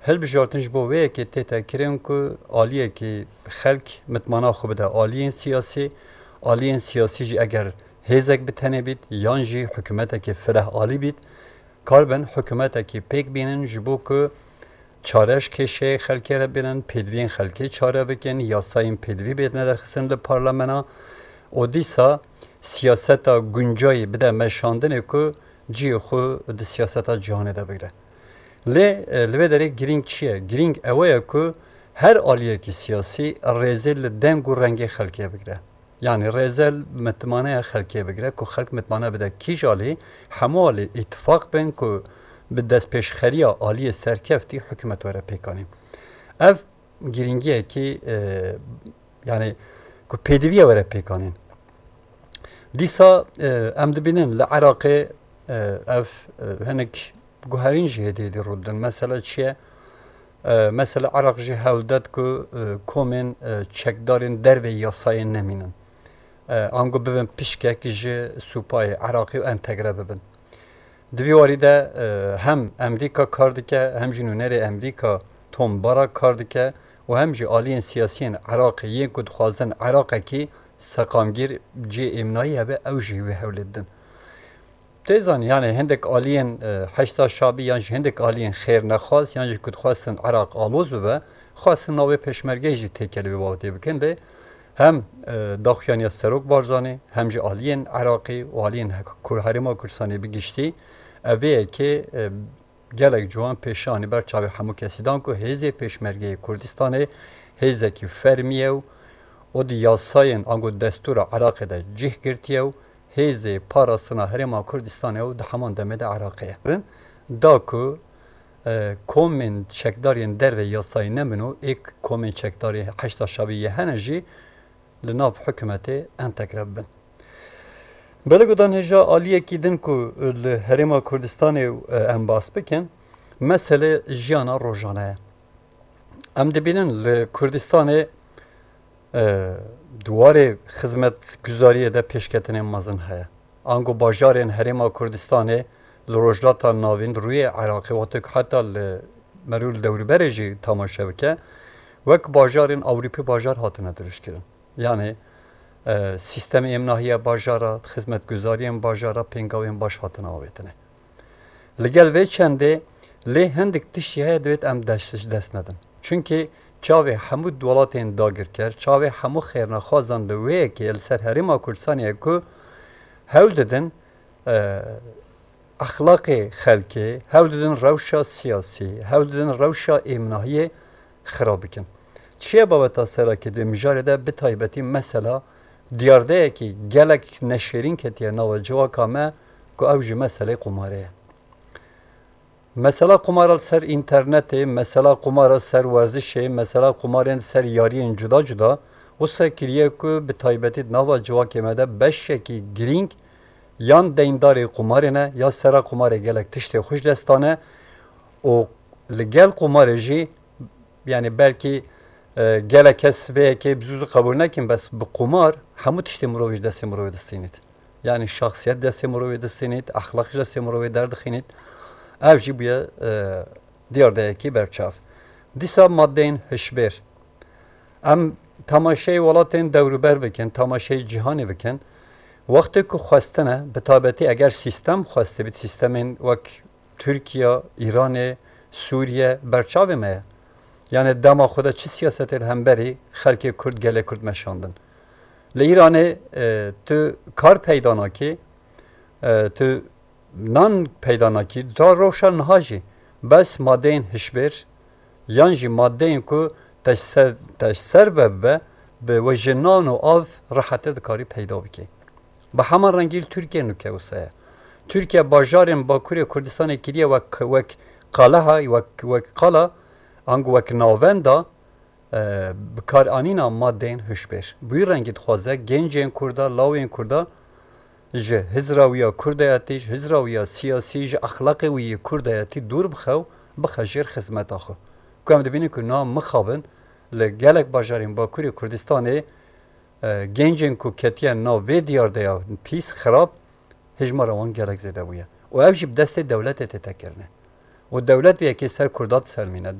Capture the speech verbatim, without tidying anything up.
Hilbijartin ji bo vê yekê tête kirin ku aliyekî xelk mitmana xwe bide aliyên siyasî, aliyên siyasî jî eger hêzek bi tenê bît yan jî hikûmetekî fireh alî bît, karibin hikûmetekî pêk bînin ji bo ku çare ji kêşeyê xelkê re bînin, pêdiviyên xelkê çare bikin, yasayên pêdivî bêtine derxistin li parlamena û dîsa siyaseta guncayî bide meşandinê ku cihê xwe di siyaseta cîhanê de bigire. Lê, e, li vê derê girîng çi ye? Girîng ew ye ku her aliyekî siyasî rêzê li deng û rengê xelkê bigire. Yanî rêze li mitmaneya xelkê bigire ku xelk mitmane bide kîj alî, hemû alî îtifaq bin ku bi destpêşxeriya aliyê serkeftî hikûmet were pêkanîn. Ev girîngiyekî, e, yanî ku pêdiviye were pêkanîn. Dîsa, e, em dibînin li Iraqê, e, ev, e, hinek guherîn jî hêdî hêdî rû didin. Mesele çi ye? E, mesele Iraq jî hewl det ku, e, komên, e, çekdarên dervê yasayê nemînin. E, ango bibin pişkek ji supayê Iraqê û entegre bibin. Di vî warî de, e, hem Emrîka kar dike, hem jî nûnerê Emrîka Tom Barrack kar dike û hem jî aliyên siyasiyên Iraqê yên ku dixwazin Iraqekî seqamgîr cihê êmnayî hebe, ew jî wê hewlê didin. Tê zanî, yanî hindek aliyên, e, Heşda Şabî yan jî hindek aliyên xêrnexwaz yan jî ku dixwestin Iraq aloz bibe, xwestin navê pêşmergeyê jî têkilî vê babetê bikin. Lê hem, e, daxuyaniya Serok Barzanî, hem jî aliyên Iraqî û aliyên he-, Kur-, Herêma Kurdistanê bi giştî, ev ê yekê, e, gelek ciwan pêşanî ber çavê hemû kesî dan ku hêzê pêşmergeyê Kurdistanê hêzekî fermî ye û o di yasayên ango destûra Iraqê de cih girtiye û hêzê parastina Herêma Kurdistanê û di heman demê de Iraqê ye. Da ku, e, komên çekdarên derve yasayî nebin û êk komên çekdarê Heşda Şabî yê hene jî li nav hikûmetê entegre bibin. Belê gudan hêja aliyekî din ku li Herêma Kurdistanê, e, em bas bikin, mesele jiyana rojane ye. Em dibînin li Kurdistanê, e, di warê xizmetguzariyê de pêşketinên mezin heye. Ango bajarên Herêma Kurdistanê li Rojhilata Navîn, rûyê Iraqê, wextê ku heta li merû li dewrûberê jî tamaşe bike, wek bajarên Ewropî bajar hatine dirûşkirin. Yanî, e, sîstemê êmnahiya bajara, xizmetguzariyên bajara, pêngavên baş hatine avêtine. Li gel vê çendê lê hindik tiştî heye divêt em dest, ji dest nedin. Çunkî çavê hemû welatên dagirker, çavê hemû xêrnexwazan li wê yekê li ser Herêma Kurdistanê ye ku hewl didin, e, exlaqê xelkê, hewl didin rewşa siyasî, hewl didin rewşa êmnahiyê xirab bikin. Çi ye babeta serakî di mijarê de, bi taybetî mesela diyardeyekî gelek neşêrîn ketiye nava civaka me ku ew jî meselê qumarê ye. Mesela qumara li ser înternetê, mesela qumara ser werzişê, mesela qumarên ser yariyên cuda cuda, wisa kiriye ku bi taybetî di nava civakê me de beşekî girîng yan deyndarê qumarê ne, ya sera qumarê gelek tiştê xwe ji dest dane û li gel qumarê jî, yanî belkî, e, gelek kes vê yekê bi zû zû qebûl nekin, bes bi qumar hemû tiştê mirovê ji destê mirovê distînît. Yanî şexsiyet destê mirovê distînît, exlaq ji destê mirovê derdixînît. Ev jî bûye, e, diyardeyekî berçav. Dîsa madeyên hişbêr. Em tamaşeyê welatên dewrûber bikin, tamaşeyê cîhanê bikin. Wextê ku xwestine, bi taybetî eger sîstem xwestibît, sîstemên wek Tirkiye, Îranê, Sûriye berçavê me ye. Yanî dema xwe de çi siyasetê li hemberî xelkê Kurd, gelê Kurd meşandin. Li Îranê, e, tu kar peyda nakî, e, tu nan peyda nakî, ta rewşa niha jî bes madeyên hişbêr yan jî madeyên ku te ji ser, te ji ser ve bibe, bi we ji nan û av rehetê dikarî peyda bikî. Bi heman rengî li Tirkiye nûke wisa ye. Tirkiye bajarên Bakurê Kurdistanê kiriye wek, wek qaleha, wek, wek qala, ango wek navenda, e, bikaranîna madeyên hişbêr. Bi wî rengî dixwaze gencên Kurda, lawên Kurda ji hizra wî ya Kurdayetî, ji hizra wî ya siyasî, ji exlaqê wî yê Kurdayetî dûr bixe û bixe jêr xizmeta xwe. Ku em dibînin ku na mixabin li gelek bajarên Bakurê Kurdistanê, e, gencên ku ketiye nav vê diyardeya pîs, xirab, hêjmara wan gelek zêde bûye. Û ev jî bi destê dewletê tête kirine. Û dewlet vê yekê ser Kurda diselmîne.